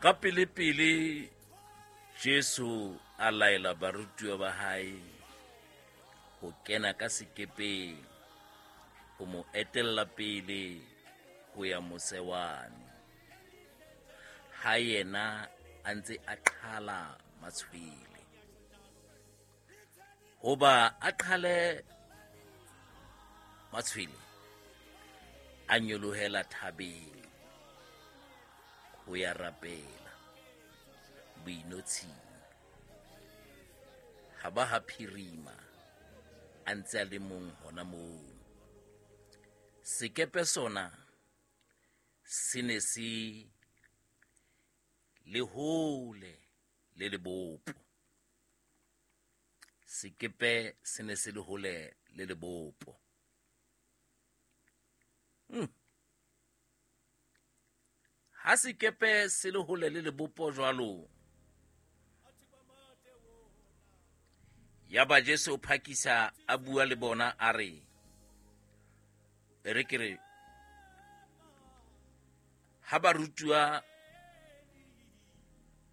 Ka pele-pele Jesu a laela barutuwa ba hae ho kena ka sekepeng ho mo etella pele ho ya mose wane, ha yena a ntse a qhala matshwele. Hoba a qhale matshwele, a nyolohela thabeng ho ya rapela boinotshing. Ha ba ha phirima a ntse a le mong hona moo. Sekepe sona se ne se le hole le lebopo. Sekepe se ne se le hole le lebopo. Ha sekepe se le hole le lebopo jwalo, yaba Jesu o phakisa a bua le bona a re, e re ke re, ha barutuwa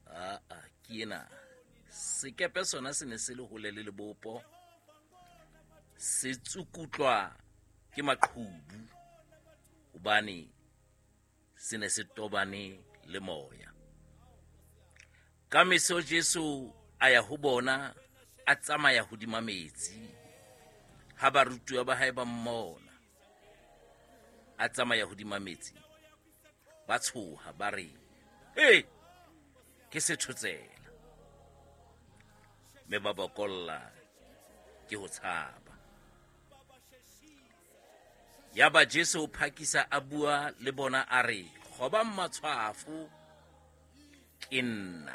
aa ke ena, sekepe sona se ne se le hole le lebopo, se tsukutlwa ke maqhubu hobane se ne se tobane le moya. Ka meso Jesu a ya ho bona a tsamaya hodima metsi. Ha barutuwa ba hae ba mmona a tsamaya hodima metsi, ba tshoha ba re, He, ke sethotsela, mme ba bokolla ke ho tshaba. Yaba Jesu o phakisa a bua le bona a re, Kgobang matshwafo, ke nna,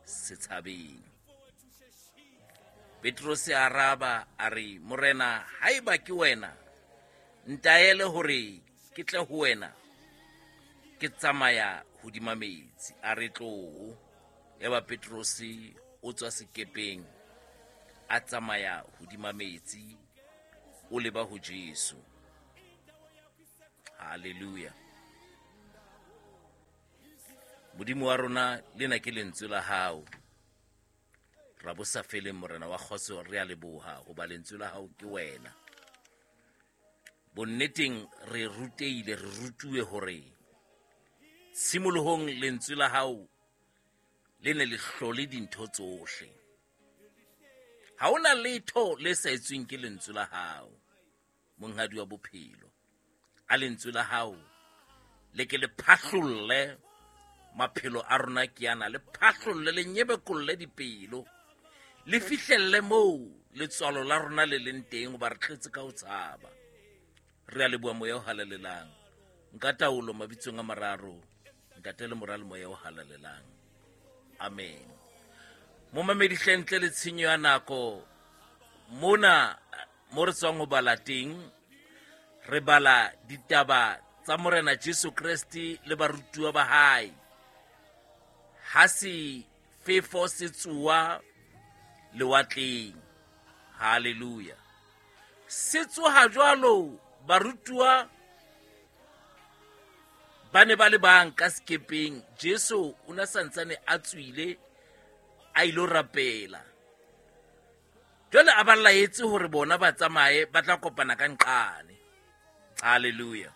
se tshabeng. Petrose a araba a re, Morena, haeba ke wena, ntaele hore ke tle ho wena ke tsamaya hodima metsi. A re, tloo. Yaba Petrose o tswa sekepeng a tsamaya hodima metsi o leba ho Jesu. Hallelujah. Modimo wa rona, lena ke lentswe la hao. Ra bo sa feleng, Morena wa kgotso, re a leboha hoba lentswe la hao ke wena. Bonneteng re ruteile, re rutuwe hore tshimolohong lentswe la hao le ne le hlole dintho tsohle. Ha hona letho le sa etsweng ke lentswe la hao, monghadi wa bophelo. A lentswe la hao le ke le phahlolle maphelo a rona ke ana, le phahlolle, le nyebekolle dipelo, le fihlelle moo letswalo la rona le leng teng, hoba re tletse ka ho tshaba. Re a leboha moya o halalelang. Nka taolo mabitsong a mararo, Ntate le Mora le Moya o halalelang. Amen. Momamedi hle, ntle le tshenyo ya nako, mona mo re tswang ho bala teng, re bala ditaba tsa Morena Jesu Kreste le barutuwa ba hae. Ha se fefo se tsoa lewatleng. Hallelujah. Se tsoha jwalo, barutuwa ba ne ba le bang ka sekepeng. Jesu o ne santsane a tswile a ilo rapela. Jwale a ba laetse hore bona ba tsamaye, ba tla kopana ka nqane. Hallelujah.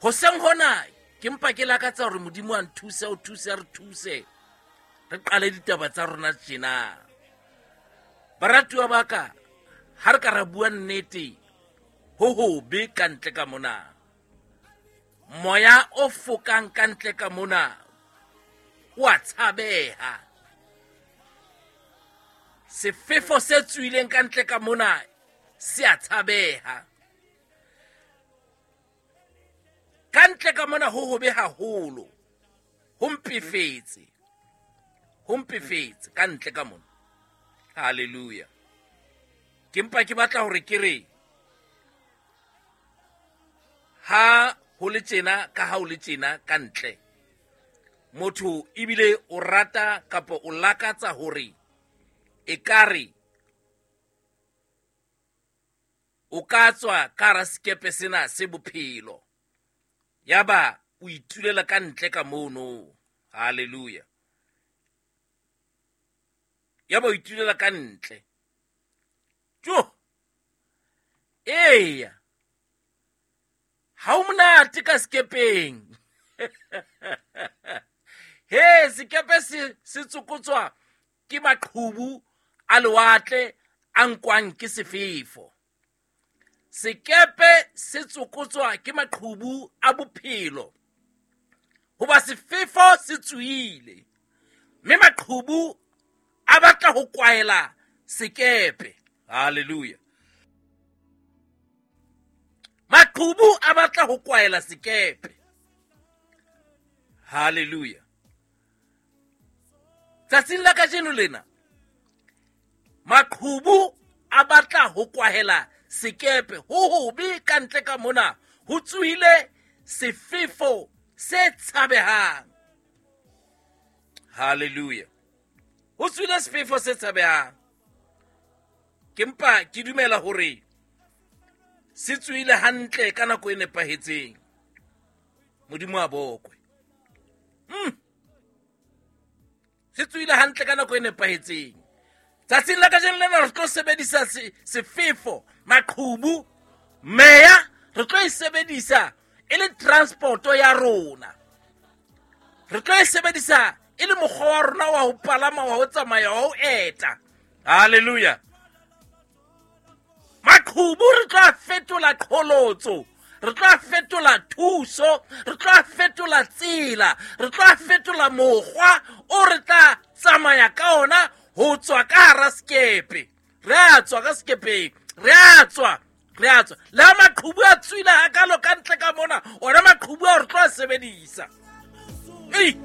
Hoseng hona ke mpa ke lakatsa hore Modimo a nthuse, o thuse, a re thuse, re qale ditaba tsa rona tjena. Baratuwa ba ka, ha re ka ra bua nnete, ho hobe ka ntle ka mona. Moya o fokang ka ntle ka mona o a tshabeha. Sefefo se tswileng ka ntle ka mona se a tshabeha. Ka ntle ka mona ho hobe haholo, ho mpefetse, ho mpefetse ka ntle ka mona. Hallelujah. Ke mpa ke batla hore ke re, ha ho le tjena ka ha ho le tjena ka ntle, motho ebile o rata kapa o lakatsa hore ekare o ka tswa ka hara sekepe sena se bophelo, yaba o itulela ka ntle ka mono. Halleluja. Ya ba o itulela ka ntle. Jo, eya, ha o monate ka sekepeng. He, sekepe se tsokotswa ke maqhubu a lewatle a nkwang ke sefefo. Sekepe se tsokotswa ke maqhubu a bophelo, hoba sefefo se tsohile, mme maqhubu a batla ho kwaela sekepe. Halleluja. Maqhubu a batla ho kwaela sekepe. Halleluja. Tsatsing la kajeno lena, maqhubu a batla ho kwahela sekepe. Ho hobe ka ntle ka mona, ho tsohile sefefo se tshabehang. Halleluja. Ho tsohile sefefo se tshabehang. Ke mpa ke dumela hore se tsohile hantle ka nako e nepahetseng. Modimo a bokwe. Se tsohile hantle ka nako e nepahetseng. Tsatsing la kajeno lena re tlo sebedisa sefefo, maqhubu, meya, re tlo e sebedisa e le transporto ya rona. Re tlo e sebedisa e le mokgwa wa rona wa ho palama, wa ho tsamaya, wa ho eta. Halleluja. Maqhubu re tlo a fetola qholotso, re tlo a fetola thuso, re tlo a fetola tsela, re tlo a fetola mokgwa o re tla tsamaya ka ona ho tswa ka hara sekepe. Re a tswa ka sekepeng, re a tswa, re a tswa. Le ha maqhubu a tswile hakalo ka ntle ka mona, ona maqhubu ao re tlo a sebedisa. Ei!